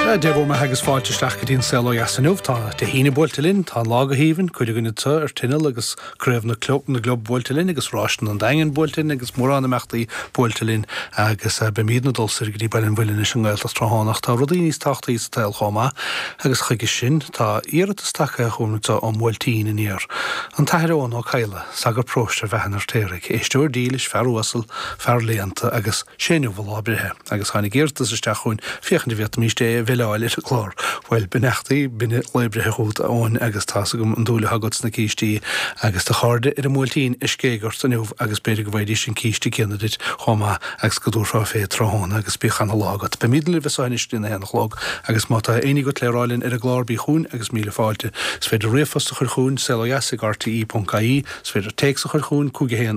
Dia bhur mbeatha agus fáilte isteach go dtí an Saol Ó Dheas inniu. Tá Dé hAoine buailte linn, tá an lá go haoibhinn, cuid againn anseo ar tinneall agus Craobh na gClub buailte linn agus Ráiseanna an Daingin buailte linn agus mórán imeachtaí buailte linn agus beimídne ag dul soir go dtí Baile an Mhuilinn leis an nGaeltacht tráthnóna ach tá rudaí níos tábhachtaí sa tsaol chomh maith agus chuige sin tá iarratas tagtha chugainn anseo ón mBuailtín aniar. An tAthair Eoghan Ó Cadhla, sagart paróiste ar Bheatha an Fheirtéaraigh, éisteoir dílis, fear uasal, fear léannta agus sé inniu a lá breithe agus tháinig iarratas isteach chugainn féachaint an bhféadfaimíst é a bheileáil ar an gclár. Bhuel, beannachtaí binne lae breithe chugat, a Eoin, agus tá's agam an dúil atá agat sna cístí agus do chairde ar an mBuailtín ag scéig ort inniu agus b'fhéidir go bhfaighidís an císte céanna duit chomh maith agus go dtabharfá fé tráthnóna agus bíodh ana-lá agat. Beimíd libh anso anois go dtí a haon a chlog agus má tá éinní agat le rá linn ar an gclár bí chugainn agus míle fáilte. Is féidir ríomhphost a chur chugainn, saolodheas ag rte.ie, is féidir téacs a chur chugainn, 5 1.